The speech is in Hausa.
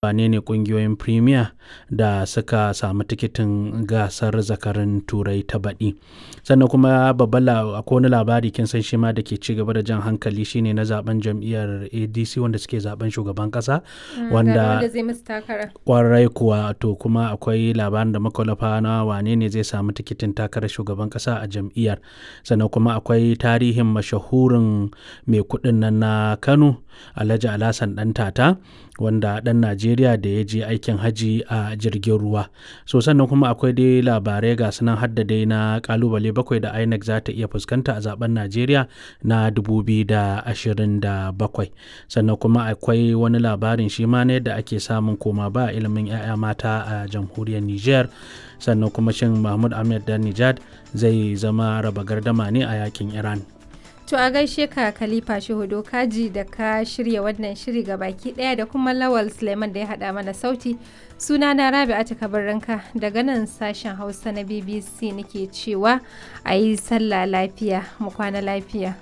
Wane ne ƙungiyoyin Premier da suka sami tikitin gasar zakarun Turai ta baɗi. Sannan kuma babban akwai wani labari kin san shi ma da ke ci gaba da jan hankali shine na zaben jam'iyyar ADC wanda suke zaben shugaban ƙasa Wanda wanda zai musu takara. kwarai kuwa. To kuma akwai labarin da muka wallafa na wane ne zai samu tikitin takarar shugaban ƙasa a jam'iyyar. Sannan kuma akwai tarihin mashahurin mai kuɗin nan na Kano, Alhaji Alhassan Ɗantata, wanda ɗan Najeriya da ya je aikin hajji a jirgin ruwa. So sannan kuma akwai dai labarai ga su nan har da dai na ƙalubale 7 da INEC za ta iya fuskanta a zaben Najeriya na 2027. Sannan kuma akwai wani labarin shi ma na yadda ake samun koma ba ilimin 'ya'ya mata a jamhuriyar Nijar. Sannan kuma shin Mahmud Ahmed Danijad zai zama raba gardama ne a yakin Iran. To a gaishe ka, Khalifa Shehu Dokaji, da ka shirya wannan shiri ga baki daya, da kuma Lawal Suleiman da ya hada mana sauti. Suna na Rabi'atu Kabirranka daga nan sashen Hausa na BBC nake cewa a yi sallah lafiya, mu kwana lafiya.